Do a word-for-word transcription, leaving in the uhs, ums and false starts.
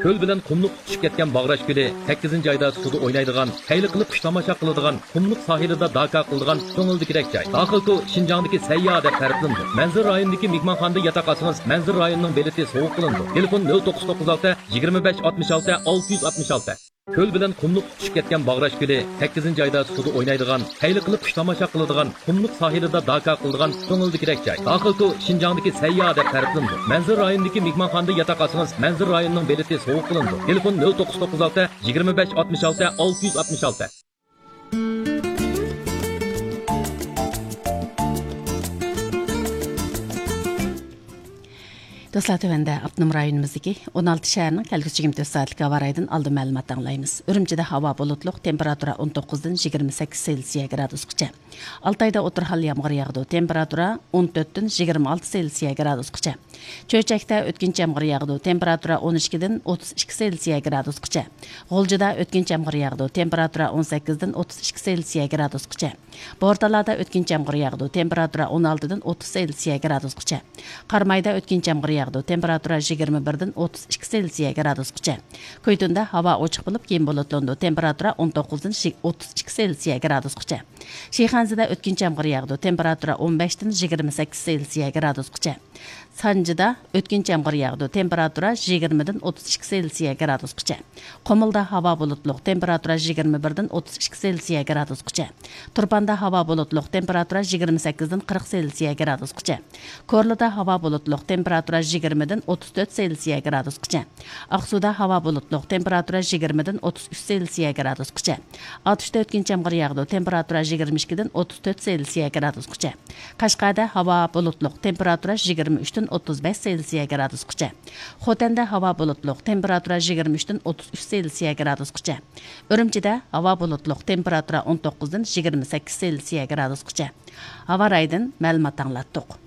كۆل بىلەن قۇملۇق تۇتىشىپ كەتكەن باغراش كۆلى، سەككىزىنچى ئايدا سۇدا ئوينايدىغان، خەيلى قىلىپ قۇش تاماشا قىلىدىغان، قۇملۇق ساھىلىدا داكا قىلىدىغان كۆڭۈلدىكىدەك جاي. داخىلكو شىنجاڭدىكى سەيياھ دەپ تەرىپلىنىدۇ. مەنزىرە رايونىدىكى مېھمانخانىدا ياتاق ئالسىڭىز، مەنزىرە رايونىنىڭ بېلىتى سوۋغا قىلىنىدۇ. تېلېفون: نۆل توققۇز توققۇز ئالتە، يىگىرمە بەش، ئاتمىش ئالتە، ئالتە يۈز ئاتمىش ئالتە. كۆل بىلەن قۇملۇق تۇتۇشۇپ كەتكەن باغراش كۆلى، سەككىزىنچى ئايدا سۇدا ئوينايدىغان، خەيلى قىلىپ قۇش تاماشا قىلىدىغان، قۇملۇق ساھىلىدا داكا قىلىدىغان كۆڭۈلدىكىدەك جاي. داخىلكو شىنجاڭدىكى سەيياھ دەپ تەرىپلىنىدۇ. مەنزىرە رايونىدىكى مېھمانخانىدا ياتاق ئالسىڭىز، مەنزىرە رايونىنىڭ بېلىتى سوۋغا قىلىنىدۇ. تېلېفون: نۆل توققۇز توققۇز ئالتە، يىگىرمە بەش، ئاتمىش ئالتە، ئالتە يۈز ئاتمىش ئالتە. دوستلار، تۆۋەندە ئاپتونوم رايونىمىزدىكى ئون ئالتە شەھەرنىڭ كەلگۈسى يىگىرمە تۆت سائەتلىك ھاۋا رايىدىن ئالدىن مەلۇمات ئاڭلايمىز. ئۈرۈمچىدە ھاۋا بۇلۇتلۇق، تېمپېراتۇرا ئون توققۇزدىن يىگىرمە سەككىز سېلسىيە گرادۇسقىچە. ئالتايدا ئوتتۇرا ھال يامغۇر ياغىدۇ، تېمپېراتۇرا ئون تۆتتىن يىگىرمە ئالتە سېلسىيە گرادۇسقىچە. چۆچەكتە ئۆتكۈنچى يامغۇر ياغىدۇ، تېمپېراتۇرا ئون ئىككىدىن ئوتتۇز ئىككى سېلسىيە گرادۇسقىچە. غۇلجىدا ئۆتكۈنچى يامغۇر ياغىدۇ، تېمپېراتۇرا ئون سەككىزدىن ئوتتۇز ئىككى سېلسىيە گرادۇسقىچە. بورتالادا ئۆتكۈنچى يامغۇر ياغىدۇ، تېمپېراتۇرا ئون ئالتىدىن ئوتتۇز سېلسىيە گرادۇسقىچە. قارامايدا ئۆتكۈنچى يامغۇر ياغىدۇ، تېمپېراتۇرا يىگىرمە بىردىن ئوتتۇز ئىككى سېلسىيە گرادۇسقىچە. كويتۇندا ھاۋا ئوچۇق بولۇپ، كېيىن بۇلۇتلىنىدۇ، تېمپېراتۇرا ئون توققۇزدىن ئوتتۇز ئىككى سېلسىيە گرادۇسقىچە. شىخەنزىدە ئۆتكۈنچى يامغۇر ياغىدۇ، تېمپېراتۇرا ئون بەشتىن يىگىرمە سەككىز سېلسىيە گرادۇسقىچە. سانجىدا ئۆتكۈنچى يامغۇر ياغىدۇ، تېمپېراتۇرا يىگىرمىدىن ئوتتۇز ئىككى سېلسىيە گرادۇسقىچە. قۇمۇلدا ھاۋا بۇلۇتلۇق، تېمپېراتۇرا يىگىرمە بىردىن ئوتتۇز ئىككى سېلسىيە گرادۇسقىچە. تۇرپاندا ھاۋا بۇلۇتلۇق، تېمپېراتۇرا يىگىرمە سەككىزدىن قىرىق سېلسىيە گرادۇسقىچە. كورلىدا ھاۋا بۇلۇتلۇق، تېمپېراتۇرا يىگىرمىدىن ئوتتۇز تۆت سېلسىيە گرادۇسقىچە. ئاقسۇدا ھاۋا بۇلۇتلۇق، تېمپېراتۇرا يىگىرمىدىن ئوتتۇز ئۈچ سېلسىيە گرادۇسقىچە. ئاتۇشتا ئۆتكۈنچى يامغۇر ياغىدۇ، تېمپېراتۇرا يىگىرمە ئىككىدىن ئوتتۇز تۆت سېلسىيە گرادۇسقىچە. قەشقەردە ھاۋا بۇلۇتلۇق، تېمپېراتۇرا يىگىرمە ئۈچتىن ئوتتۇز بەش سېلسىيە گرادۇسقىچە. خوتەندە ھاۋا بۇلۇتلۇق، تېمپېراتۇرا يىگىرمە ئۈچتىن ئوتتۇز ئۈچ سېلسىيە گرادۇسقىچە. ئۈرۈمچىدە ھاۋا بۇلۇتلۇق، تېمپېراتۇرا ئون توققۇزدىن يىگىرمە سەككىز سېلسىيە گرادۇسقىچە. ھاۋا رايىدىن مەلۇمات ئاڭلاتتۇق.